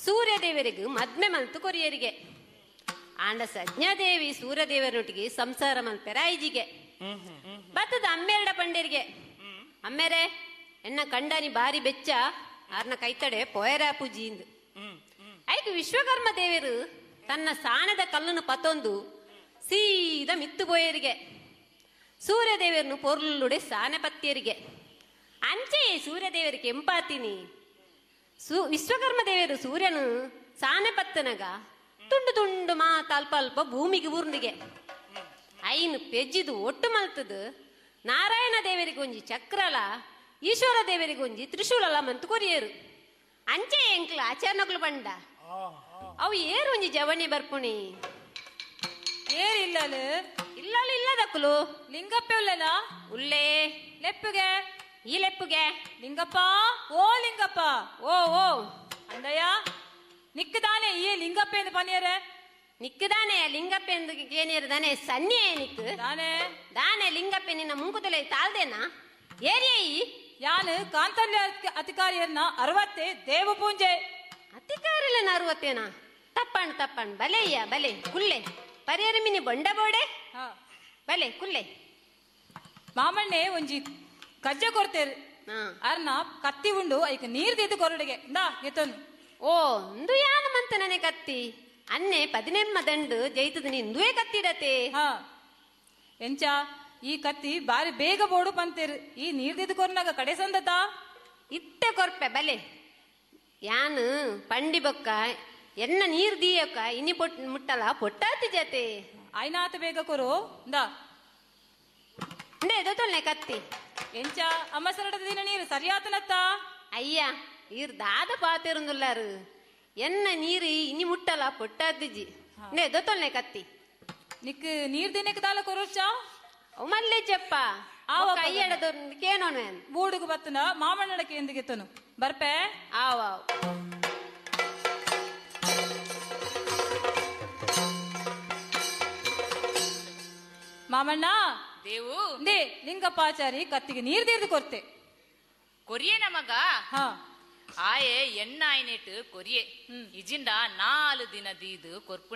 ಸೂರ್ಯದೇವರಿಗೆ ಮದ್ಮೆ ಮಲ್ತು ಕೊರಿಯರಿಗೆ. ಆಂಡ ಸಜ್ಞಾದೇವಿ ಸೂರ್ಯದೇವರೊಟ್ಟಿಗೆ ಸಂಸಾರ ಮಲ್ಪೆರ ಐಜಿಗೆ ಬತ್ತದ ಅಮ್ಮೇರಡ ಪಂಡೇರಿಗೆ. ಅಮ್ಮೇರೆ ಎನ್ನ ಕಂಡನಿ ಬಾರಿ ಬೆಚ್ಚ ಆರ್ನ ಕೈತಡೆ ಪೋಯರ ಪೂಜಿಂದು. ಐಕ್ ವಿಶ್ವಕರ್ಮ ದೇವರು ತನ್ನ ಸಾಣದ ಕಲ್ಲನ್ನು ಪತ್ತೊಂದು ಸೀದ ಮಿತ್ತು ಬೋಯರಿಗೆ. ಸೂರ್ಯದೇವರನ್ನು ಪೊರ್ಲುಡೆ ಸಾನೆ ಪತ್ತಿಯರಿಗೆ. ಅಂಚೆ ಸೂರ್ಯದೇವರಿಗೆ ಕೆಂಪಾತೀನಿ. ವಿಶ್ವಕರ್ಮ ದೇವರು ಸೂರ್ಯನು ಸಾನೆ ಪತ್ತನಗ ತುಂಡು ತುಂಡು ಮಾತ ಅಲ್ಪ ಅಲ್ಪ ಭೂಮಿಗೆ ಊರ್ನಿಗೆ ಐನು ಪೆಜ್ಜಿದು ಒಟ್ಟು ಮಲ್ತದು ನಾರಾಯಣ ದೇವರಿಗೆ ಒಂಜಿ ಚಕ್ರಲ, ಈಶ್ವರ ದೇವರಿಗೆ ಒಂಜಿ ತ್ರಿಶೂಲಲ ಮಂತು ಕೊರಿಯರು. ಅಂಚೆ ಎಂಕ್ಲ ಆಚರಣಗಳು ಬಂಡ ಅವು ಏರು ಒಂಜಿ ಜವಣಿ ಬರ್ಪುಣಿ. ಏರು ಇಲ್ಲಲು ಇಲ್ಲಲು ಇಲ್ಲದಕ್ಕಲು ಲಿಂಗಪ್ಪ ಉಲ್ಲಲ ಉಲ್ಲೇ ಲೆಪ್ಪುಗೆ ಈ ಲೆಪ್ಪುಗೆ ಲಿಂಗಪ್ಪ ಓ ಲಿಂಗಪ್ಪ ಓ ಓ ಅಂದಯ್ಯ ನಿಕ್ಕದಾನೆ ಈ ಲಿಂಗಪ್ಪ ಎಂದು ಪನಿಯರೆ. ನಿಕ್ಕದಾನೆ ಲಿಂಗಪ್ಪ ಎಂದು ಕೇನಿಯರು ದಾನೆ ಸನ್ನಿಯೇ ನಿಕ್ಕು ದಾನೆ ದಾನೆ ಲಿಂಗಪ್ಪ ನಿನ್ನ ಮುಂಕುದಲೆ ತಾಳ್ದೇನಾ ಏರಿಯೇ. ಯಾನು ಕಾಂತಲ್ಯ ಅಧಿಕಾರಿಯನ್ನ 60 ದೇವ ಪೂಂಜೆ. ಅಧಿಕಾರಿಲ್ಲ 60 ತಪ್ಪಣ್ ತಪ್ಪಣ್ ಬಲೆಯ್ಯ ಬಲೆ ಕುಲ್ಲೆ ಪರಿಯರ ಮಿನಿ ಬೊಂಡ ಬೋಡೆ ಬಲೆ ಕುಲ್ಲೆ. ಮಾಮಣ್ಣೆ ಒಂಜಿ ಕಜ್ಜೆ ಕೊರ್ತೇರು ಅರ್ನ ಕತ್ತಿ ಉಂಡು ಐಕ್ ನೀರ್ ದಿದ್ದು ಕೊರಡಿಗೆ ಇಂದಾ ಗೆತ್ತನು. ಓ ಇಂದು ಯಾನ ಮಂತ ನನೆ ಕತ್ತಿ ಅನ್ನೆ 18 ದಂಡು ಜೈತದ ನಿಂದುವೆ ಕತ್ತಿಡತೆ. ಹಾ ಎಂಚ ಈ ಕತ್ತಿ ಬಾರಿ ಬೇಗ ಬೋಡು ಪಂತೇರು ಈ ನೀರ್ ದಿದ್ದು ಕೊರ್ನಾಗ ಕಡೆ ಸಂದತ ಇತ್ತೆ ಕೊರ್ಪೆ ಬಲೆ ಯಾನು ಪಂಡಿ ಬೊಕ್ಕ ಎನ್ನ ನೀರ್ ದೀಯಕ್ಕ ಇನಿ ಪೊಟ್ ಮುಟ್ಟಲ ಪೊಟ್ಟಾತಿ ಜತೆ ಆಯ್ನಾತ ಬೇಗ ಕೊರು ಇಂದಾ ಇಂದೇ ದೊತ್ತೊಲ್ನೆ ಕತ್ತಿ. ಎಂಚ ಅಮ್ಮಸರಡದ ದಿನ ನೀರು ಸರಿಯಾತನತ್ತ. ಅಯ್ಯ ಈರ್ ದಾದ ಪಾತಿರುಂದುಲ್ಲಾರು ಎನ್ನ ನೀರು ಇನಿ ಮುಟ್ಟಲ ಪೊಟ್ಟಾತಿಜಿ ನೇ ದೊತ್ತೊಲ್ನೆ ಕತ್ತಿ. ನಿಕ್ ನೀರ್ ದಿನಕ್ಕೆ ದಾಲ ಕೊರೋಚ ಮಲ್ಲೆ ಚಪ್ಪ ಕೈಯಡದ ಕೇನೋನು ಬೂಡುಗು ಬತ್ತನ ಮಾಮಣ್ಣಡಕ್ಕೆ ಎಂದಿಗೆತ್ತನು ಬರ್ಪೆ ಆವ. ಮಾಮಣ್ಣ ದೇವು they ಲಿಂಗಪ್ಪಾಚಾರಿ ಕತ್ತಿಗೆ ನೀರ್ ದೀರ್ದು ಕೊರ್ತೆ ಕೊರಿಯೇ ನಮಗ ಆಯೆ ಎಣ್ಣಾಯ್ನೆಟ್ ಕೊರಿಯೆ ಇಜಿಂದ 4 ದಿನ ದೀದು ಕೊರ್ಪುಣೆ.